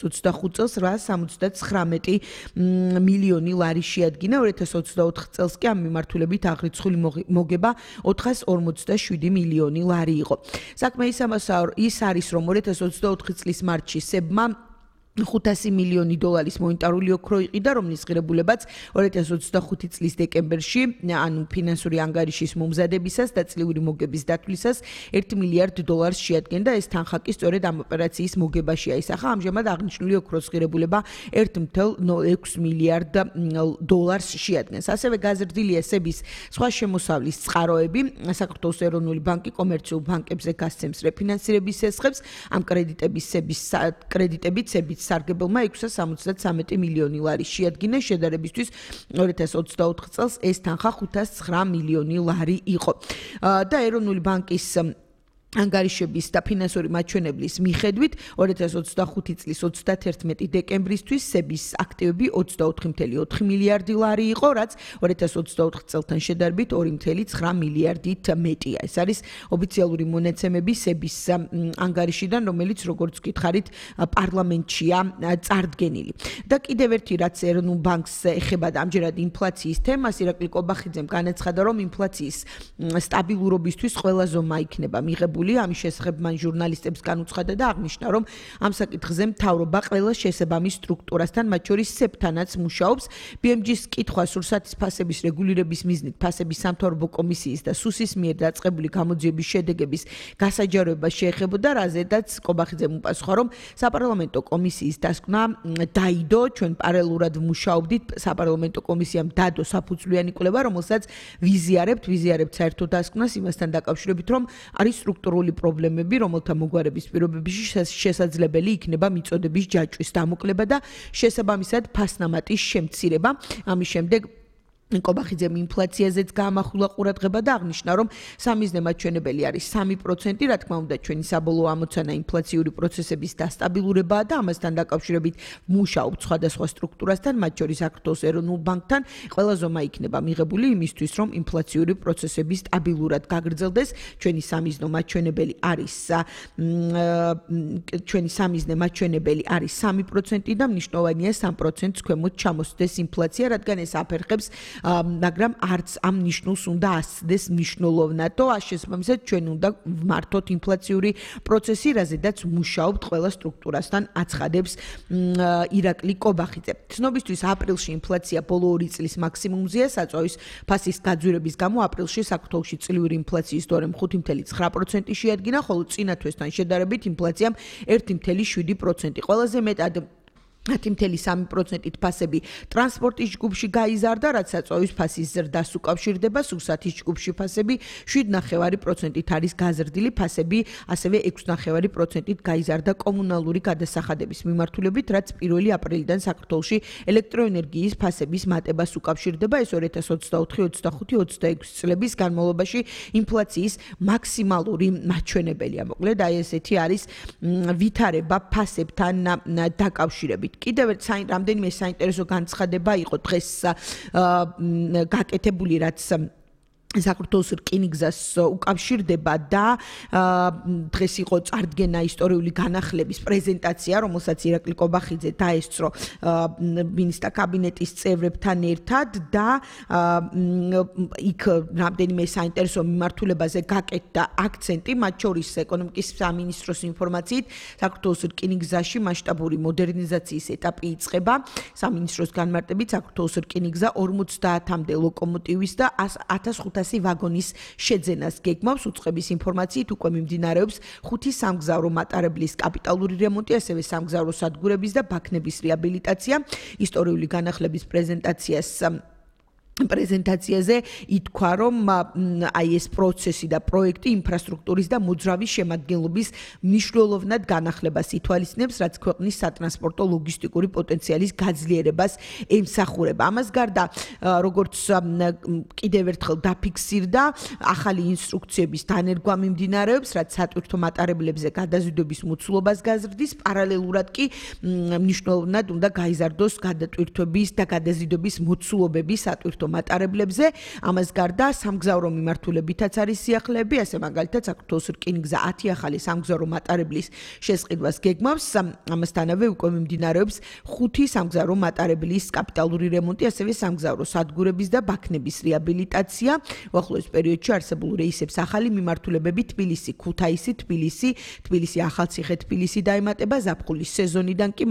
25 წელს 879 მილიონი ლარი შეადგინა, 2024 წელს კი ამ მიმართულებით აღრიცხული მოგება 447 მილიონი ლარი იყო. საქმე ის არის, რომ 2024 წლის მარტში სებმა 500 მილიონი დოლარის მონეტარული ოქრო იყიდა, რომლის ღირებულებაც 2025 წლის დეკემბერში, ანუ ფინანსური ანგარიშის მომზადებისას და წლიური მოგების დათვლისას 1 მილიარდ დოლარს შეადგენდა. ეს თანხა კი სწორედ ამ ოპერაციის მოგებაში აისახა. ამჟამად აღნიშნული ოქროს ღირებულება 1.06 მილიარდ დოლარს შეადგენს. ასევე გაზრდილია სების სხვა შემოსავლის წყაროები. საქართველოს ეროვნული ბანკი კომერციულ ბანკებზე გასცემს რეფინანსირების შესახებ. ამ კრედიტებით სების სარგებელმა 673 მილიონი ლარი შეადგინა. შედარებისთვის 2024 წელს ეს თანხა 509 მილიონი ლარი იყო. და ეროვნული ბანკის ანგარიშების და ფინანსური მაჩვენებლის მიხედვით 2025 წლის 31 დეკემბრისთვის სების აქტივები 24.4 მილიარდი ლარი იყო, რაც 2024 წელთან შედარებით 2.9 მილიარდით მეტია. ეს არის ოფიციალური მონაცემები სების ანგარიშიდან, რომელიც როგორც გითხარით პარლამენტშია წარდგენილი. და კიდევ ერთი რაც ეროვნულ ბანკს ეხება და ამჯერად ინფლაციის თემას, ირაკლი კობახიძემ განაცხადა, რომ ინფლაციის სტაბილურობისთვის ყველა ზომა იქნება მიღებული. ამის შესახებ მან ჟურნალისტებს განუცხადა და აღნიშნა, რომ ამ საკითხზე მთავრობა ყველა შესაბამის სტრუქტურასთან, მათ შორის სეფთანაც მუშაობს. BMG-ს კითხვა სურსათის ფასების რეგულირების მიზნით ფასების სამთავრობო კომისიის და სუსის მიერ დაწყებული გამოძიების შედეგების გასაჯაროება შეეხებოდა, რაზედაც კობახიძემ უპასუხა, რომ საპარლამენტო კომისიის დასკვნა დაიდო, ჩვენ პარალელურად ვმუშაობდით, საპარლამენტო კომისიამ დადო საფუძვლიანი კვლევა, რომელსაც ვიზიარებთ საერთო დასკვნას იმასთან დაკავშირებით, რომ არის სტრუქტურული პრობლემები, რომელთა მოგვარების პირობებში შესაძლებელი იქნება მიწოდების ჯაჭვის დამოკლება და შესაბამისად ფასნამატის შემცირება. ამის შემდეგ კობახიძემ ინფლაციაზეც გაამახვილა ყურადღება და აღნიშნა, რომ სამიზნე მაჩვენებელი არის 3%, რა თქმა უნდა, ჩვენი საბოლოო ამოცანა ინფლაციური პროცესების დასტაბილურებაა და ამასთან დაკავშირებით მუშაობთ სხვადასხვა სტრუქტურასთან, მათ შორის საქართველოს ეროვნულ ბანკთან. ყველა ზომა იქნება მიღებული იმისთვის, რომ ინფლაციური პროცესები სტაბილურად გაგრძელდეს. ჩვენი სამიზნე მაჩვენებელი არის 3% და მნიშვნელოვანია 3%-ს ქვემოთ ჩამოსდეს ინფლაცია, რადგან ეს აფერხებს მაგრამ არც ამ ნიშნულს უნდა ასცდეს მნიშვნელოვნადო, შესაბამისად ჩვენ უნდა ვმართოთ ინფლაციური პროცესი, რაზედაც მუშაობთ ყველა სტრუქტურასთან, აცხადებს ირაკლი კობახიძე. ცნობისთვის აპრილში ინფლაცია ბოლო 2 წლის მაქსიმუმზეა, საწვავის ფასის გაძვირების გამო აპრილში საქართველოში წლიური ინფლაციის დონე 5.9% შეადგინა, ხოლო წინა თვესთან შედარებით ინფლაციამ 1.7%. ყველაზე მეტად 10.3%-ით ფასები ტრანსპორტის ჯგუფში გაიზარდა, რაც საწვავის ფასის ზრდას უკავშირდება. სურსათის ჯგუფში ფასები 7.9%-ით არის გაზრდილი, ფასები ასევე 6.9%-ით გაიზარდა კომუნალური გადასახადების მიმართულებით, რაც 1 აპრილიდან საქართველოში ელექტროენერგიის ფასების მატებას უკავშირდება. ეს 2024, 25, 26 წლების განმავლობაში ინფლაციის მაქსიმალური მაჩვენებელია. მოკლედ, აი ესეთი არის ვითარება ფასებთან დაკავშირებით. კიდევ რამდენიმე საინტერესო განცხადება იყო დღეს გაკეთებული, რაც საქართველოს რკინიგზას უკავშირდება და დღეს იყო წარდგენა ისტორიული განახლების პრეზენტაცია, რომელსაც ირაკლი კობახიძე დაესწრო მინისტრთა კაბინეტის წევრებთან ერთად და იქ რამდენიმე საინტერესო მიმართულებაზე გაკეთდა აქცენტი, მათ შორის ეკონომიკის სამინისტროს ინფორმაციით საქართველოს რკინიგზაში მასშტაბური მოდერნიზაციის ეტაპი იწყება. სამინისტროს განმარტებით საქართველოს რკინიგზა 50-მდე ლოკომოტივის და 1500 ვაგონის შეძენას გეგმავს. უწყების ინფორმაციით უკვე მიმდინარეობს 5 სამგზავრო მატარებლის კაპიტალური რემონტი, ასევე სამგზავრო სადგურების და ბაქნების რეაბილიტაცია. ისტორიული განახლების პრეზენტაციაზე ითქვა, რომ აი ეს პროცესი და პროექტი ინფრასტრუქტურის და მოძრავის შემადგენლობის მნიშვნელოვნად განახლებას ითვალისწინებს, რაც ქვეყნის სატრანსპორტო ლოგისტიკური პოტენციალის გაძლიერებას ემსახურება. ამას გარდა, როგორც კიდევ ერთხელ დაფიქსირდა, ახალი ინსტრუქციების დანერგვა მიმდინარეობს, რაც სატვირთო მატარებლებზე გადაზიდვების მოცულობას გაზრდის, პარალელურად კი მნიშვნელოვნად უნდა გაიზარდოს გადატვირთვების და გადაზიდვების მოცულობები სატვირთო მატარებლებზე. ამას გარდა სამგზავრო მიმართულებითაც არის სიახლეები, ასე მაგალითად საქართველოს რკინიგზა 10 ახალი სამგზავრო მატარებლის შესყიდვას გეგმავს. ამასთანავე უკვე მიმდინარეობს 5 სამგზავრო მატარებლის კაპიტალური რემონტი, ასევე სამგზავრო სადგურების და ბაქნების რეაბილიტაცია. უახლოეს პერიოდში არსებულ რეისებს ახალი მიმართულებები თბილისი, ქუთაისი, თბილისი, ახალციხე, თბილისი დაემატება. ზაფხულის სეზონიდან კი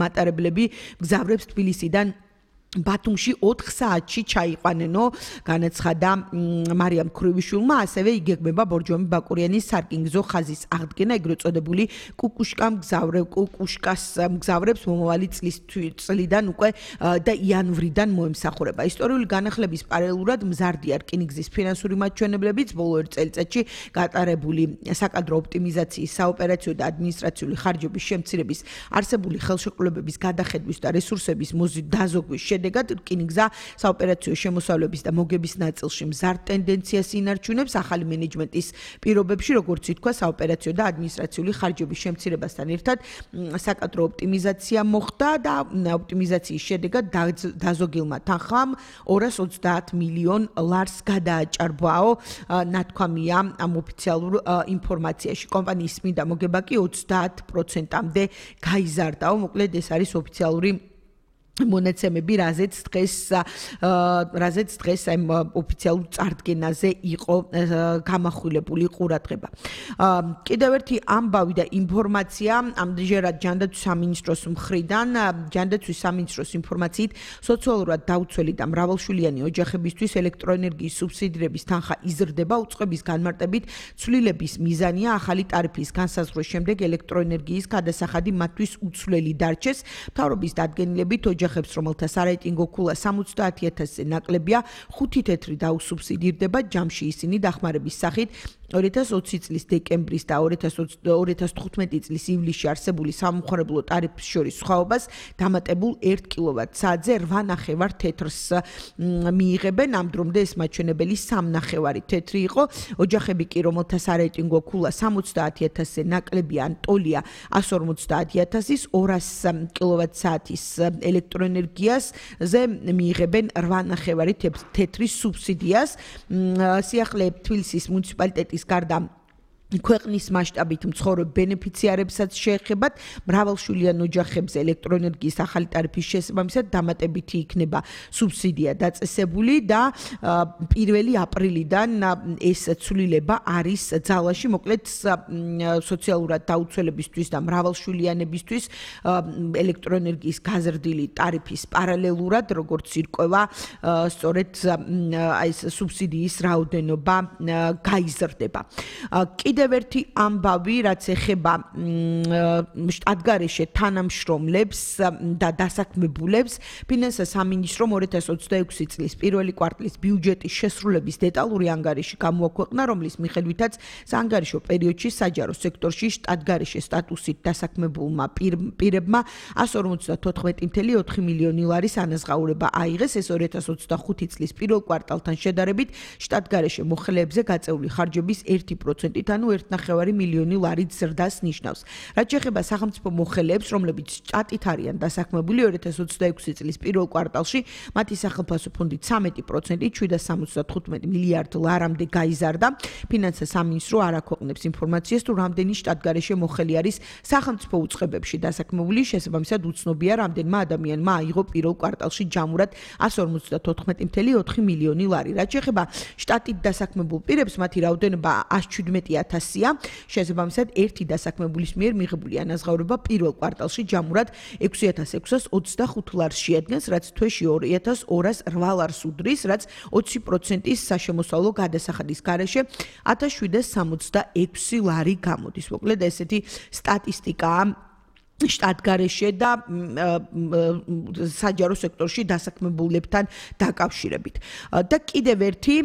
მატარებლები გზავრებს თბილისიდან ბათუმში 4 საათში ჩაიყვანენო, განაცხადა მარიამ ქრუვიშვილმა, ასევე იგეგმება ბორჯომი ბაკურიანის სარკინიგზო ხაზის აღდგენა, ეგრეთ წოდებული კუკუშკას მგზავრებს მომავალი წლიდან უკვე და იანვრიდან მოემსახურება. ისტორიული განახლების პარალელურად მზარდია რკინიგზის ფინანსური მაჩვენებლებიც, ბოლო 1 წელიწადში გატარებული საკადრო ოპტიმიზაციის, საოპერაციო და ადმინისტრაციული ხარჯების შემცირების, არსებული ხელშეკრულებების გადახედვის და რესურსების დაზოგვის შედეგად რკინიგზა საოპერაციო შემოსავლების და მოგების ნაწილში მზარდ ტენდენციას ინარჩუნებს. ახალი მენეჯმენტის პირობებში, როგორც ითქვა, საოპერაციო და ადმინისტრაციული ხარჯების შემცირებასთან ერთად საკადრო ოპტიმიზაცია მოხდა და ოპტიმიზაციის შედეგად დაზოგილმა თანხამ 230 მილიონ ლარს გადააჭარბაო, ნათქვამია ამ ოფიციალურ ინფორმაციაში. კომპანიის წმინდა მოგება კი 30%-მდე გაიზარდაო. მოკლედ ეს არის ოფიციალური მონაცემები, რაზეც დღეს ამ ოფიციალურ წარდგენაზე იყო გამახვილებული ყურადღება. კიდევ ერთი ამბავი და ინფორმაცია ამჯერად ჯანდაცვის სამინისტროს მხრიდან. ჯანდაცვის სამინისტროს ინფორმაციით, სოციალურად დაუცველი და მრავალშვილიანი ოჯახებისთვის ელექტროენერგიის სუბსიდირების თანხა იზრდება. უწყების განმარტებით, ცვლილების მიზანია ახალი ტარიფის განსაზღვრის შემდეგ ელექტროენერგიის გადასახადი მათთვის უცვლელი დარჩეს. მთავრობის დადგენილებით ოჯახებს, რომელთა სარეიტინგო ქულა 70,000-ზე ნაკლებია, 5 თეთრი დაუსუბსიდირდება. ჯამში ისინი დახმარების სახით 2020 წლის დეკემბრის და 2015 წლის ივლისში არსებული სამომხმარებლო ტარიფის შორის სხვაობას დამატებულ 1 კილოვატ-საათზე 8.5 თეთრს მიიღებენ. ამ დრომდე ეს მაჩვენებელი 3.5 თეთრი იყო. ოჯახები კი, რომელთა სარეიტინგო ქულა 70,000-ზე ნაკლებია ან ტოლია 150,000-ის 200 კილოვატ-საათის ელექტროენერგიაზე მიიღებენ 8.5 თეთრის სუბსიდიას. სიახლე თბილისის მუნიციპალიტეტის გარდა ქვეყნის მასშტაბით მცხოვრებ ბენეფიციარებსაც შეეხებათ. მრავალშვილიან ოჯახებზე ელექტროენერგიის ახალი ტარიფის შესაბამისად დამატებითი იქნება სუბსიდია დაწესებული და 1 აპრილიდან ეს ცვლილება არის ძალაში. მოკლედ სოციალურად დაუცველებისთვის და მრავალშვილიანებისთვის ელექტროენერგიის გაზრდილი ტარიფის პარალელურად, როგორც ირკვევა, სწორედ ეს სუბსიდიის რაოდენობა გაიზრდება. კიდევ ერთი ამბავი, რაც ეხება შტატგარეშე თანამშრომლებს და დასაქმებულებს, ფინანსთა სამინისტრომ 2026 წლის პირველი კვარტლის ბიუჯეტის შესრულების დეტალური ანგარიში გამოაქვეყნა, რომლის მიხედვითაც საანგარიშო პერიოდში საჯარო სექტორში შტატგარეშე სტატუსით დასაქმებულმა პირებმა 154.4 მილიონი ლარის ანაზღაურება აიღეს. ეს 2025 წლის პირველ კვარტალთან შედარებით შტატგარეშე მოხელეებზე გაწეული ხარჯების 1%-ით, ანუ 1.5 მილიონი ლარით ზრდას ნიშნავს. რაც შეეხება სახელმწიფო მოხელეებს, რომლებიც შტატით არიან დასაქმებული, 2026 წლის პირველ კვარტალში მათი სახელმწიფო ფონდით 13%-ით 775 მილიარდ ლარამდე გაიზარდა. ფინანსთა სამინისტრო არ აქვეყნებს ინფორმაციას, თუ რამდენი შტატგარეშე მოხელი არის სახელმწიფო უწყებებში დასაქმებული. შესაბამისად, უცნობია, რამდენმა ადამიანმა აიღო პირველ კვარტალში ჯამურად 154.4 მილიონი ლარი. რაც შეეხება შტატით დასაქმებულ პირებს, მათი რაოდენობა 117,000-ია. შესაბამისად, ერთი დასაქმებულის მიერ მიღებული ანაზღაურება პირველ კვარტალში ჯამურად 6,625 ლარს შეადგენს, რაც თვეში 2,208 ლარს უდრის, რაც 20%-ის საშემოსავლო გადასახადის გარეშე 1,766 ლარი გამოდის. მოკლედ ესეთი სტატისტიკაა შტატგარეშე და საჯარო სექტორში დასაქმებულებთან დაკავშირებით. და კიდევ ერთი,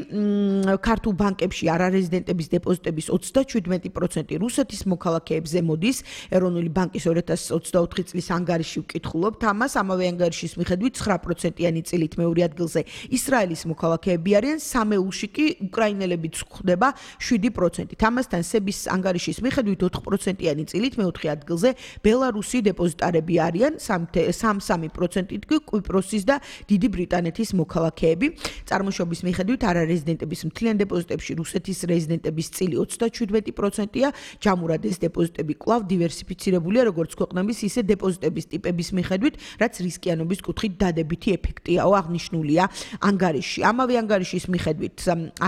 ქართულ ბანკებში არარეზიდენტების დეპოზიტების 37% რუსეთის მოქალაქეებზე მოდის. ეროვნული ბანკის 2024 წლის ანგარიში ვკითხულობთ ამას. ამავე ანგარიშის მიხედვით 9%-იანი წილით მეორე ადგილზე ისრაელის მოქალაქეები არიან, სამეულში კი უკრაინელებიც გვხვდება 7%-ით. ამასთან სების ანგარიშის მიხედვით 4%-იანი წილით მეოთხე ადგილზე ბელარუსი რუსი დეპოზიტარები არიან 3% კი კვიპროსის და დიდი ბრიტანეთის მოქალაქეები. წარმოშობის მიხედვით არარეზიდენტების მთლიან დეპოზიტებში რუსეთის რეზიდენტების წილი 37%-ია, ჯამურად ეს დეპოზიტები კვლავ დივერსიფიცირებულია როგორც ქვეყნების, ისე დეპოზიტების ტიპების მიხედვით, რაც რისკიანობის კუთხით დადებითი ეფექტიაო აღნიშნულია ანგარიშში. ამავე ანგარიშის მიხედვით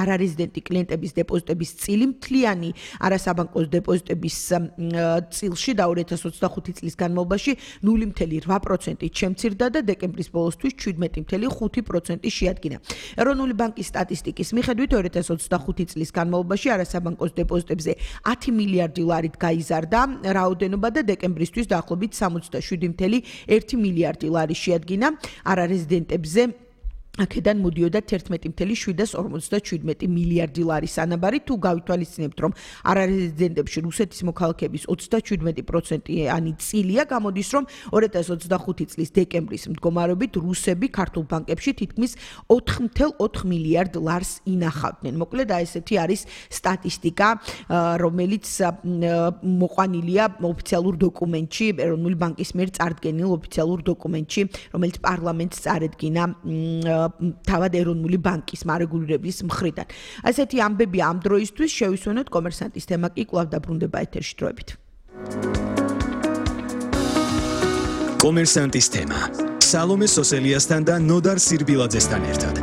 არარეზიდენტი კლიენტების დეპოზიტების წილი მთლიანი არასაბანკო დეპოზიტების წილში და 2025 წლის განმავლობაში 0.8%-ით შემცირდა და დეკემბრის ბოლოსთვის 17.5% შეადგინა. ეროვნული ბანკის სტატისტიკის მიხედვით 2025 წლის განმავლობაში არასაბანკო დეპოზიტებზე 10 მილიარდი ლარით გაიზარდა რაოდენობა და დეკემბრისთვის დაახლოებით 67.1 მილიარდი ლარი შეადგინა არარეზიდენტებზე. აქედან მოდიოდა 11.757 მილიარდი ლარის ანაბარი. თუ გავითვალისწინებთ, რომ არარეზიდენტებში რუსეთის მოქალაქეების 37%-იანი წილია, გამოდის, რომ 2025 წლის დეკემბრის მდგომარეობით რუსები ქართულ ბანკებში თითქმის 4.4 მილიარდ ლარს ინახავდნენ. მოკლედ, ესეთი არის სტატისტიკა, რომელიც მოყვანილია ოფიციალურ დოკუმენტში, ეროვნული ბანკის მიერ წარდგენილ ოფიციალურ დოკუმენტში, რომელიც პარლამენტს წარედგინა თავად ეროვნული ბანკის მარეგულირების მხრიდან. ასეთი ამბები ამ დროისთვის შევისვენოთ კომერსანტის თემა კი კვლავ დაბრუნდება ეთერში დროებით. კომერსანტის თემა. სალომე სოსელიასთან და ნოდარ სირბილაძესთან ერთად.